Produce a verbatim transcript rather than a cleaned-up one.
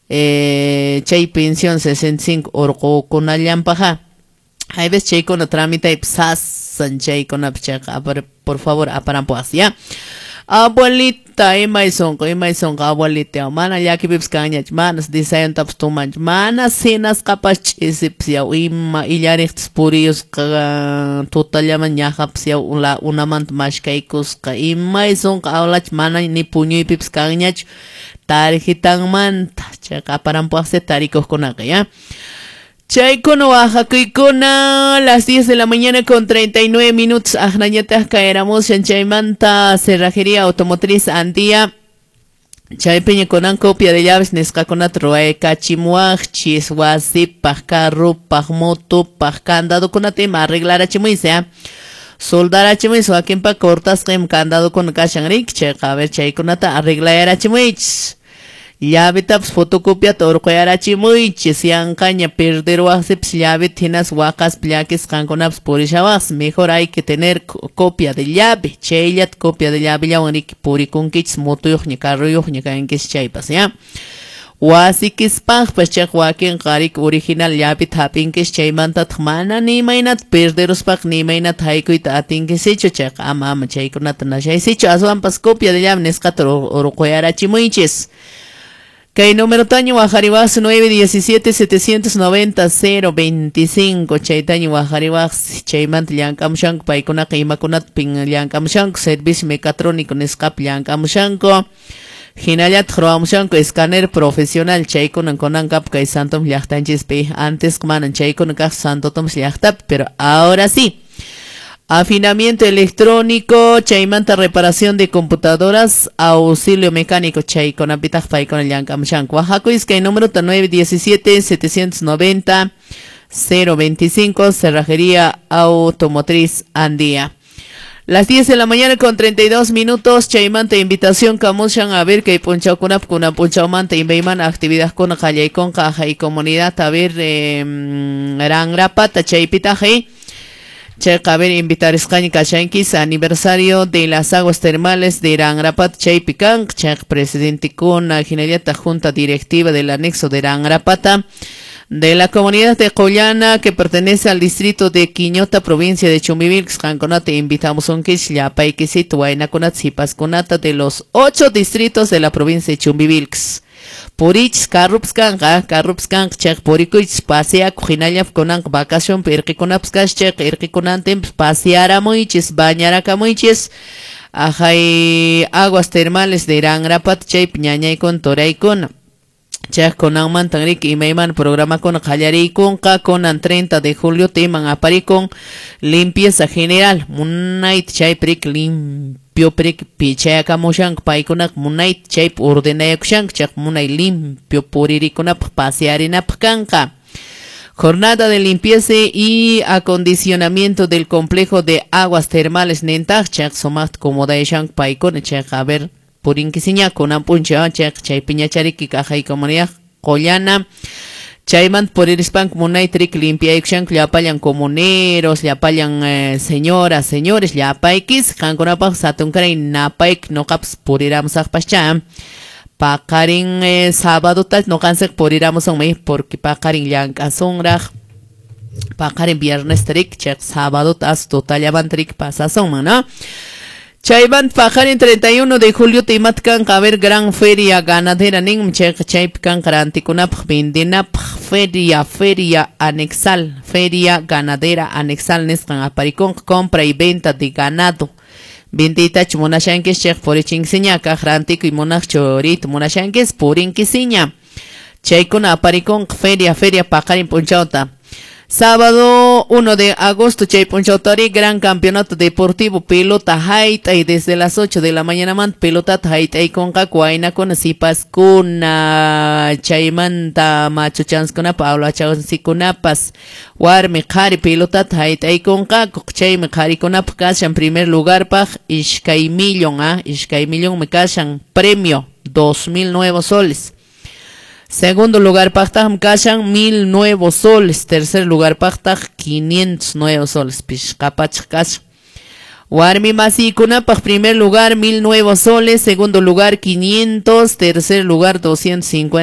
Eh, chay pensión sesenta y cinco urqukunallampaqa. Hay veces chaykuna tramitaypi sasan chaykunapi chayqa apar, por favor aparampuas, ya. Abuelita, imay sonqo, imay sonqo, abuelita, mana llakipipas kanñachu, manas desayuntapas tumanchu, mana cenasqapas ch'isipas yaw, ima illariqtas puriyusqa, tutallaman ñaqapas yaw, la unamanta mashkaykusqa, imay sonqo awlachu, mana ni puñuypipas kanñachu, tarjetanmanta, chayqa aparampuaqsi tarikuqkunaqa, ya. Chaykuna wajakuykuna, las diez de la mañana con treinta y nueve minutos, ajnañataq caeramos chaymanta cerrajería automotriz Andía, chaypiña kunan copia de llaves nisqakunata ruwaykachimuwaqchis, wasipaq, carrupaq, motopaq, candadokunata ima arreglarachimuysi, ¿eh? Soldarachimuysi, wakinpa cortasqa ima candadokuna kashan riki, chayqa a ver chaykunata arreglayarachimuychis. Llavetapas fotocopiata urquyarachimuychis, yanqaña perderwaqsipas llaveta hinas waqaspa llakisqankunapas purishawaqsi, mejor hay que tener copia de llave, chayllata copia de llavellawan riki purikunkichis motuyuqña carruyuqña kankichis chaypas, ya. Wasikispaqpas chayqa wakinqa riki original llaveta hap'inkis chaymantataq mana ni imaynata perderuspaqa ni imaynata haykuyta atinkisichu, chayqa ama ama chaykunata nashaysichu, aswanpas copia de llave nisqata urquyarachimuychis. Kay número taño wajariwaqsi nueve diecisiete setecientos noventa cero veinticinco, chay taño wajariwaqsi, chaymanta llank'amushanku paykunaqa imakunata llank'amushanku, servicio mecatrónico nisqapi llank'amushanku, hinallataq ruwamushanku escáner profesional, chaykunan kunankap kay Santo Tomás llaqtanchispi, antes manan chaykuna kaq Santo Tomás llaqtapi, pero ahora sí. Afinamiento electrónico, chaymanta reparación de computadoras, auxilio mecánico, chaykunapitaq paykuna llank'amushanku. Wajakuyis kay número nueve diecisiete setecientos noventa cero veinticinco, Cerrajería Automotriz Andía. Las diez de la mañana con treinta y dos minutos, chaymanta invitación kamushan a ver kay punchawkunap kunan punchawmanta imaymana actividad kuna qallaykunqa ajay comunidad, a ver, eh, rangrapata chaypitaq, chayqa a ver invitarisqaña kashankis aniversario de las aguas termales de Rangrapat chaypi kanqa, chayqa presidentekuna hinallataq junta directiva del anexo de Rangrapata de la comunidad de Qollana que pertenece al distrito de Quiñota, provincia de Chumbivilcas. Qankunata invitamos un kish llapaykisito waynakunata sipaskunata de los ocho distritos de la provincia de Chumbivilcas. Purichis carrups kanqa, carrups kanqa chayqa purikuychis paseakuq hinallap kunanqa vacacionpi irqikunapas kash chayqa irqikunantinpas pasearamuychis bañarakamuychis ajay aguas termales de Rangrapat chaypi ñañaykuna turaykuna. Chayqa kunanmantan riki imaymana programakuna qallariykunqa kunan treinta de julio timan aparikun limpieza general munayta chaypi riki limpio riki pichayakamushanku paykunaqa munayta chaypi ordenayakushanku chayqa munay limpio puririkunapaq pasearinapaq kanqa. Jornada de limpieza y acondicionamiento del complejo de aguas termales nintaq chayqa sumaqta comodayashanku paykuna chayqa a ver purinkisiña kunan punchaw chayqa chaypiñachariki kaqay comunidad Qollana chaymanta puririspanku munayta riki limpiaykushanku llapallan comuneros, llapallan eh, señoras, señores, llapaykis qankunapaq satunkaray napayki noqapas puriramusaqpascha. Paqarin eh, sábado noqanchik puriramusunmi porque paqarin llank'asunraq paqarin viernes riki chayqa sábado as tutallamanta riki pasasunman, ¿no? Chaymanta paqarin treinta y uno de julio imata kanqa a ver gran feria ganadera ninmi chayqa chaypi kanqa rantikunapaq vendinapaq feria, feria anexal, feria ganadera anexal nisqan aparikunqa compra y venta de ganado. Vendiytachu munashankis chayqa purichinkiña kaq rantikuy munaqchu riyta munashankis purinkisiña. Chaykuna aparikunqa feria, feria paqarin p'unchawta. Sábado uno de agosto, chay punchawtari, gran campeonato deportivo, pelota hayt'ay desde las ocho de la mañana man, pelotata hayt'aykunqaku waynakuna sipaskuna, chaymanta machuchanskunapa awlachansikkunapas, warmi qhari pelotata hayt'aykunqaku, chaymi qharikunapaq kashan primer lugarpaq iskay millón, ah, iskay millónmi kashan premio, dos mil nuevos soles. Segundo lugar paqtaq kashan mil nuevos soles. Tercer lugar paqtaq quinientos nuevos soles. Pishqapachaq kashan. Warmi masikunapaq primer lugar mil nuevos soles. Segundo lugar quinientos. Tercer lugar doscientos cincuenta.